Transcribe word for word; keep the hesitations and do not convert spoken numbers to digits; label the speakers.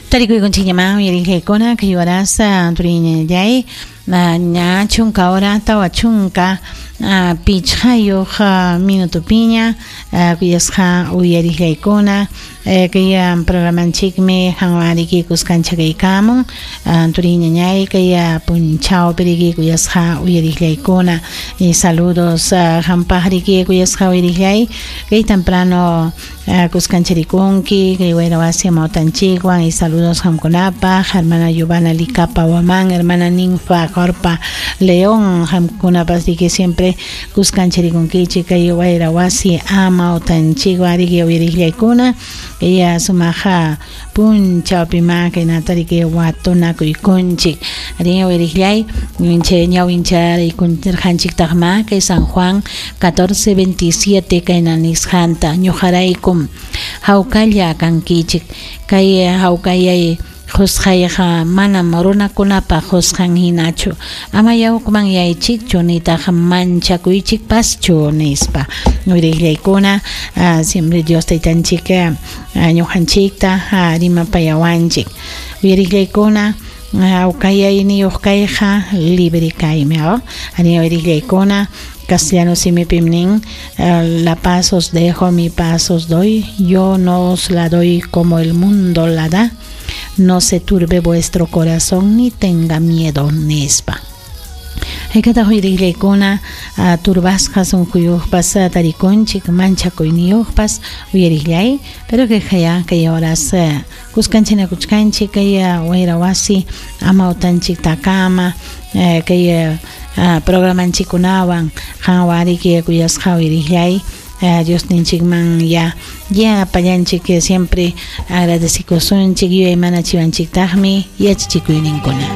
Speaker 1: Tarikuykunchikñaman uyariqllaykuna kay warasa turiñallay ña chunka hora tawa chunka pichqayuq minutupiña kuyasqa uyariqllaykuna kay programanchikmi qanwan riki kuskanchakaykamun turiñañay kay punchawpi riki kuyasqa uyariqllaykuna y saludos qampaq riki kuyasqa uyariqllay kay temprano kuskancharikunki kay wayra wasi amawtanchikwan y saludos qamkunapaq hermana Giovanna Licapa Huamán, hermana Ninfa Corpa León, qamkunapas riki siempre kuskancharikunkichik kay wayra wasi amawtanchikwan riki uyariqllaykuna kay sumaqa punchawpima kaynata riki watunakuykunchik rin uyariqllay chay ñawincharaykunchirqanchiktaqma kay San Juan catorce veintisiete kayna nisqanta ñuqaraykum hawkalla kankichik kay hawkayay qusqayqa manam runakunapaq qusqan hinachu ama yawkuman yaychikchu nitaq manchakuychikpaschu nispa uyariqllaykuna siempre Dios taytanchik ñuqanchikta rimapayawanchik uyariqllaykuna hawkayayniyuq kayqa libre kaymi arí uyariqllaykuna castellano simipim nin la paz os dejo, mi paz os doy, yo no os la doy como el mundo la da. No se turbe vuestro corazón ni tenga miedo nispa. Haykataq uyariqllaykuna turbasqa sunquyuqpas tarikunchik manchakuyniyuqpas uyariqllay pero que haya kay horas kuskanchinakuchkanchik kay wayra wasi amawtanchik takama kay programanchikkunawan qanwan riki kuyasqa uyariqllay Dios ninchikman ya ya apallanchik siempre agradecikusunchik yuyaymanachiwanchiktaqmi yachachikuyninkuna.